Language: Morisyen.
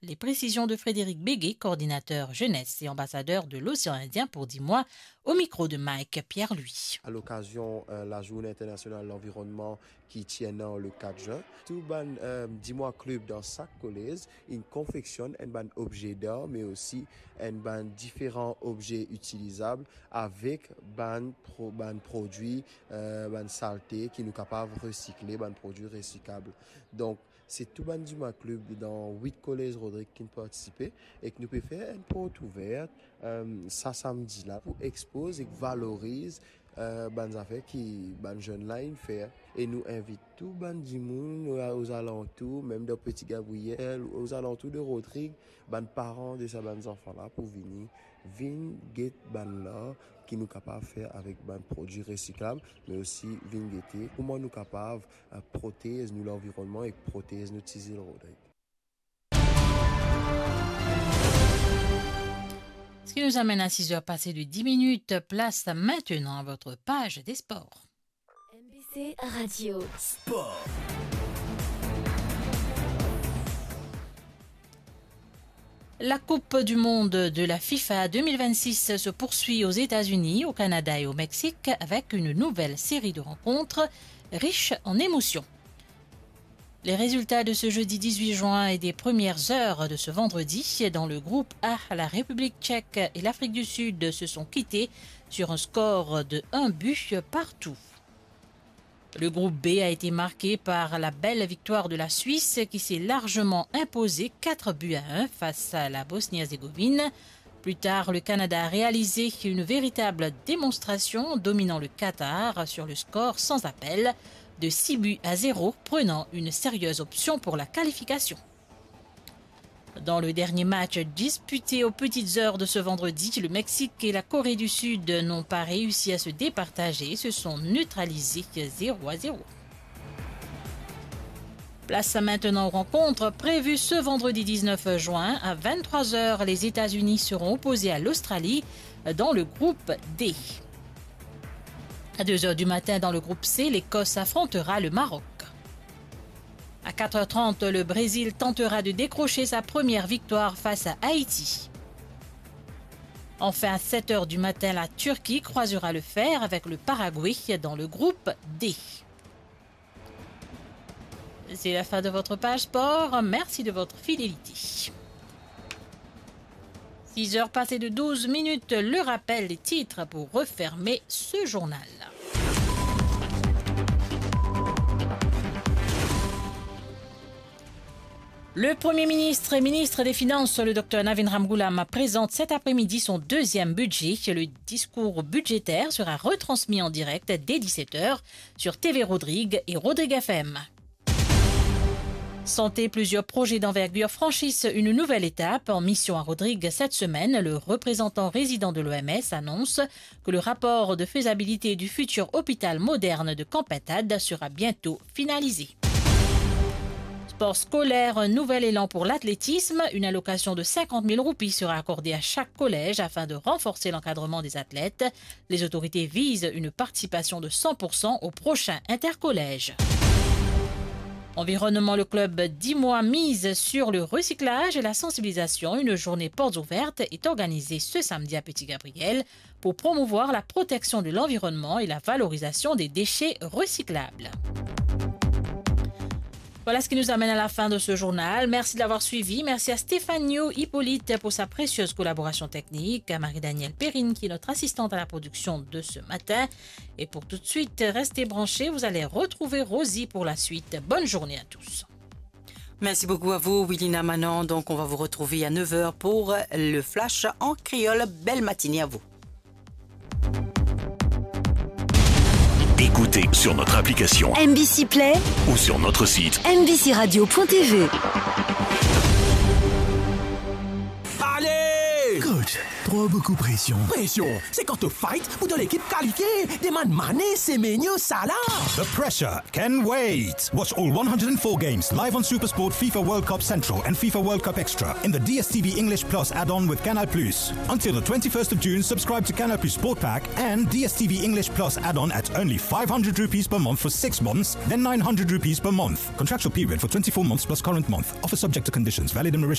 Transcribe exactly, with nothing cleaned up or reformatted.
Les précisions de Frédéric Béguet, coordinateur jeunesse et ambassadeur de l'Océan Indien pour Dimois, au micro de Mike Pierre-Louis. À l'occasion, euh, la Journée internationale de l'environnement qui tient le quatre juin, tout bann, euh, Dimois club dans chaque collège, ils confectionnent un bann objet d'art, mais aussi un bann différents objets utilisables avec bann pro-, bann produits, euh, bann saleté ki nou kapav recycler, bann produits recyclables. Donc, c'est tout bann Dimois club dans huit collèges Rodrig ki participe e ki nou pe fer enn porte ouverte, euh, sa samedi la pou expose e valorize, euh, bann zafer ki bann jenn la inn fer. E nou invit tou bann dimoun o-, ozalantour, mem dan Petit Gabriel, ozalantour de Rodrig, bann paran de sa bann zanfan la pou vini, vinn get bann lar ki nou kapav fer avek bann produi resiklab, me osi vinn gete kouma nou kapav, euh, protez nou lanvironnman e protez nou ti zil Rodrig. Ce qui nous amène à six heures passées de dix minutes. Place maintenant à votre page des sports. M B C Radio. Sport. La Coupe du Monde de la FIFA deux mille vingt-six se poursuit aux États-Unis, au Canada et au Mexique avec une nouvelle série de rencontres riches en émotions. Les résultats de ce jeudi dix-huit juin et des premières heures de ce vendredi, dans le groupe A, la République tchèque et l'Afrique du Sud se sont quittés sur un score de un but partout. Le groupe B a été marqué par la belle victoire de la Suisse qui s'est largement imposée quatre buts à un face à la Bosnie-Herzégovine. Plus tard, le Canada a réalisé une véritable démonstration, dominant le Qatar sur le score sans appel de six buts à zéro, prenant une sérieuse option pour la qualification. Dans le dernier match disputé aux petites heures de ce vendredi, le Mexique et la Corée du Sud n'ont pas réussi à se départager, se sont neutralisés zéro à zéro. Place maintenant aux rencontres prévues ce vendredi dix-neuf juin à vingt-trois heures. Les États-Unis seront opposés à l'Australie dans le groupe D. À deux heures du matin, dans le groupe C, l'Écosse affrontera le Maroc. À quatre heures trente, le Brésil tentera de décrocher sa première victoire face à Haïti. Enfin, à sept heures du matin, la Turquie croisera le fer avec le Paraguay dans le groupe D. C'est la fin de votre page sport. Merci de votre fidélité. Six heures passées de douze minutes, le rappel des titres pour refermer ce journal. Le Premier ministre et ministre des Finances, le docteur Navin Ramgoolam, présente cet après-midi son deuxième budget. Le discours budgétaire sera retransmis en direct dès dix-sept heures sur T V Rodrig et Rodrig F M. Santé, plusieurs projets d'envergure franchissent une nouvelle étape. En mission à Rodrig cette semaine, le représentant résident de l'O M S annonce que le rapport de faisabilité du futur hôpital moderne de Camp Pintade sera bientôt finalisé. Sport scolaire, un nouvel élan pour l'athlétisme. Une allocation de cinquante mille roupies sera accordée à chaque collège afin de renforcer l'encadrement des athlètes. Les autorités visent une participation de cent pour cent au prochain intercollège. Environnement, le club Dimois mise sur le recyclage et la sensibilisation. Une journée portes ouvertes est organisée ce samedi à Petit Gabriel pour promouvoir la protection de l'environnement et la valorisation des déchets recyclables. Voilà ce qui nous amène à la fin de ce journal. Merci de l'avoir suivi. Merci à Stéphanie Hippolyte pour sa précieuse collaboration technique, à Marie-Danielle Perrine qui est notre assistante à la production de ce matin. Et pour tout de suite, restez branchés, vous allez retrouver Rosie pour la suite. Bonne journée à tous. Merci beaucoup à vous, Wilina Manon. Donc, on va vous retrouver à neuf heures pour le Flash en créole. Belle matinée à vous. Écoutez sur notre application M B C Play ou sur notre site M B C radio point T V. Allez! Coach, trop beaucoup pression. Pression, c'est quand to fight pour ton équipe qualifiée. Demann Mané, Semenyo, Salah. The pressure can wait. Watch all one hundred and four games live on SuperSport, FIFA World Cup Central, and FIFA World Cup Extra in the D S T V English Plus add-on with Canal Plus. Until the twenty-first of June, subscribe to Canal Plus Sport Pack and D S T V English Plus add-on at only five hundred rupees per month for six months, then nine hundred rupees per month. Contractual period for twenty-four months plus current month. Offer subject to conditions, valid in Mauritius.